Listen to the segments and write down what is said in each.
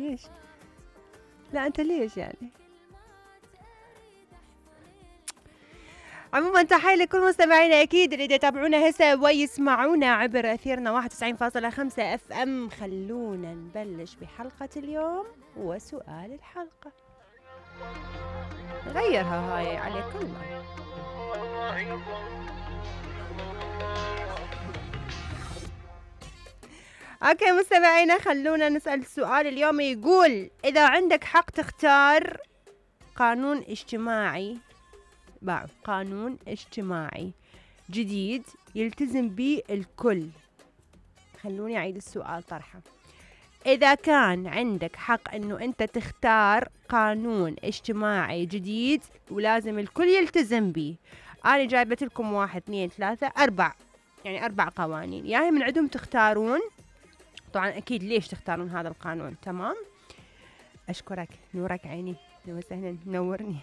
ليش؟ لا أنت ليش يعني؟ عموما تحية لكل مستمعينا أكيد اللي يتابعونا هسه ويسمعونا عبر أثيرنا 91.5 اف ام. خلونا نبلش بحلقة اليوم وسؤال الحلقة. غيرها هاي على كلها. اوكي مستمعينا، خلونا نسأل السؤال اليوم. يقول إذا عندك حق تختار قانون اجتماعي جديد يلتزم به الكل. خلوني أعيد السؤال طرحه. إذا كان عندك حق إنه أنت تختار قانون اجتماعي جديد ولازم الكل يلتزم به، أنا جايبت لكم 1 2 3 4، يعني 4 قوانين، يعني من عندهم تختارون. طبعا أكيد ليش تختارون هذا القانون. تمام، أشكرك، نورك عيني، وسهلا، نورني.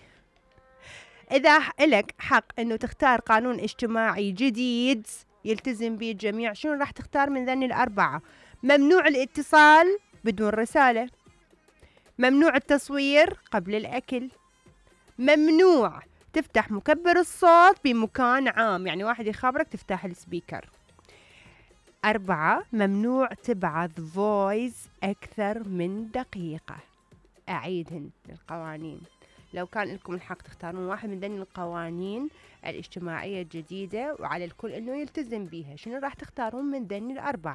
إذا لك حق إنه تختار قانون اجتماعي جديد يلتزم به الجميع، شنو راح تختار من ذني ال4؟ ممنوع الاتصال بدون رسالة، ممنوع التصوير قبل الأكل، ممنوع تفتح مكبر الصوت بمكان عام، يعني واحد يخابرك تفتح السبيكر. 4، ممنوع تبعث فويس أكثر من دقيقة. أعيدهن القوانين. لو كان لكم الحق تختارون واحد من ذني القوانين الاجتماعية الجديدة وعلى الكل إنه يلتزم بيها، شنو راح تختارون من ذني ال4؟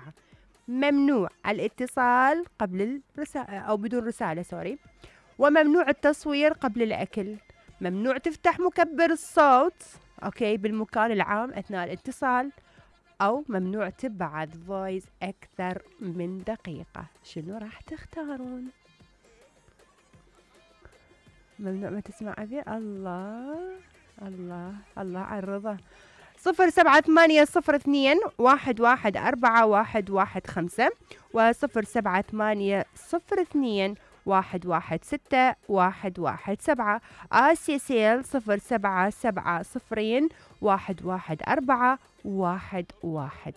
ممنوع الاتصال قبل الرسالة أو بدون رسالة، وممنوع التصوير قبل الأكل، ممنوع تفتح مكبر الصوت بالمكان العام أثناء الاتصال، أو ممنوع تبعث فويس أكثر من دقيقة. شنو راح تختارون؟ ممنوع ما تسمع أبي. الله الله الله على الرضا. 0780211415 و078021161117 آسيسيل 0770211411.